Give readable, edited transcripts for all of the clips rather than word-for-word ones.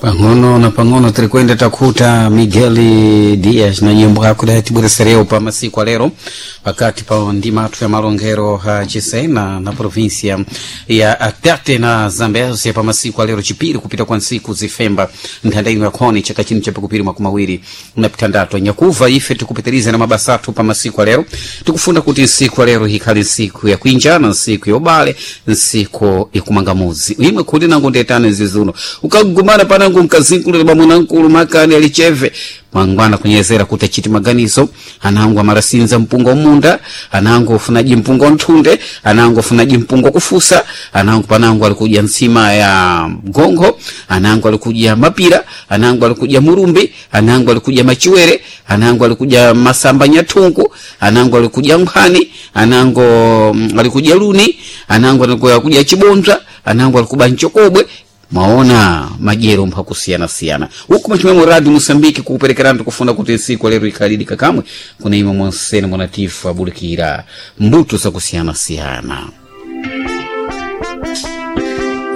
Pang'ono na pang'ono tirikwenda takuta Miguel Dias na nyimbo yako tibweresereo pa masiku alero pakati pa ndima athu ya malongero ha Chisena na província ya Tete na Zambezia pa masiku alero chipiri kupita kwa nsiku zifemba nthanda ino yakhoni chaka chino chapikupiri 2026 nyakuva ife tikupitiriza na mabasa athu pa masiku alero tikufuna kuti nsiku alero ikhale nsiku yakuinjana, nsiku yobale, nsiku ikumangamuzi imwe khuti nangu ndetane zizuno ukagumana panangu mkazinkulira bamwanankulu makani alicheve mangwana kunyezera kuti achiti maganizo anangu amarasinza mpunga munda, anangu ofunaji mpunga nthunde, anangu ofunaji mpunga kufusa, anangu panangu alikuja nsima ya gongo, anangu alikuja mapira, anangu alikuja murumbi, anangu alikuja machiwere, anangu alikuja masamba nyathungu, anangu alikuja nkhani, anangu alikuja luni, anangu alikuja chibonza, anangu alikuba nchokobwe. Maona majero mphakusiyana-siyana huku machimwemo Radio Mosambiki kukuperekerani tikufuna kuti nsiku lero ikhalidika kamwe kuna imwe monsene monatifu abulikira mbuto zakusiyana-siyana.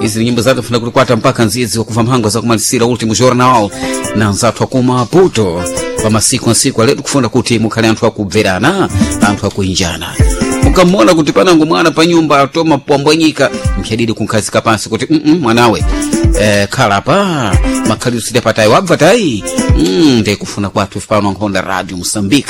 Izi ni nyimbo zake funa kulikwata mpaka nzizi wakuva mhango zakumalisira Ultimo Jornal na nzathu akuma Maputo pa masiku ansiku aletu kufuna kuti mukhale anthu akubverana, anthu akuinjana. Mukamona kuti panango mwana pa nyumba atoma pwambwanyika mkhadidi kunkhazika pansi kuti mwanawe, khala pa makhalidwe sida patayi wabva tayi, ndikufuna kwathu ife pano nkhonda Radio Mosambika.